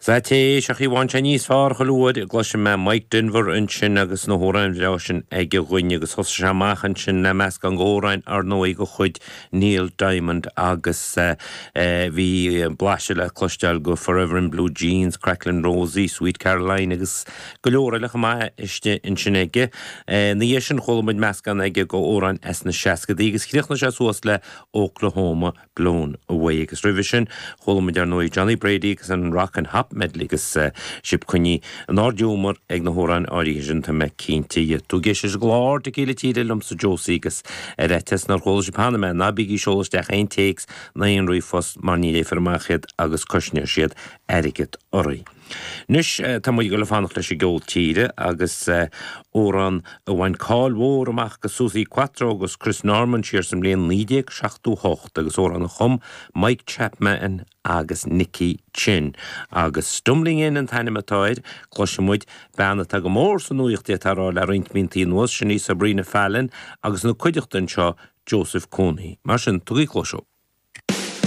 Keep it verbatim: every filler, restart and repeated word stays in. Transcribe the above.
Sea, téis ach bhain sé níos fearr chuile uair a gcloisim mé Mike Denver ansin agus na hamhráin bhreá sin aige dhúinn agus thosaigh sé amach ansin le meascán d'amhráin ar ndóigh de chuid Neil Diamond agus bhí blaiseadh le cloisteáil de Forever in Blue Jeans, Cracklin' Rosie, Sweet Caroline agus go leor eile chomh maith istigh ansin aige. Ina dhiaidh sin chuala muid meascán aige d'amhráin as na seascadaí agus chríochnaigh sé suas le Oklahoma Blown Away agus roimhe sin chuala muid ar ndóigh Johnny Brady agus an Rock and Hop Medley agus sibh coinnithe in ard-ghiúmar ag na hamhráin áirithe sin tá mé cinnte dhe. Tú ag éisteacht leis an gclár Dicíle Tíre liomsa Josie agus ar fhaitíos nár chuala sibh cheana mé ná bígí ag seoladh isteach aon téacs ná aon ríomhphost mar ní léifear amach iad agus cosnóidh siad airgead oraibh. Anois tá muid ag dul ag fanacht leis an gceol tíre agus amhrán a bhain cáil mhór amach do Suzi Quatro agus Chris Norman siar sa mbliain naoi déag seachtó hocht agus amhrán a chum Mike Chapman agus Nicky Chinn. Agus Stumbling In an t-ainm atá air, cloisfidh muid bean atá go mór sa nuaíocht atá rá le roinnt míontaí anuas, sin í Sabrina Fallon agus ina cuideachta anseo Joseph Cooney. Mar sin, tugaigí cluas.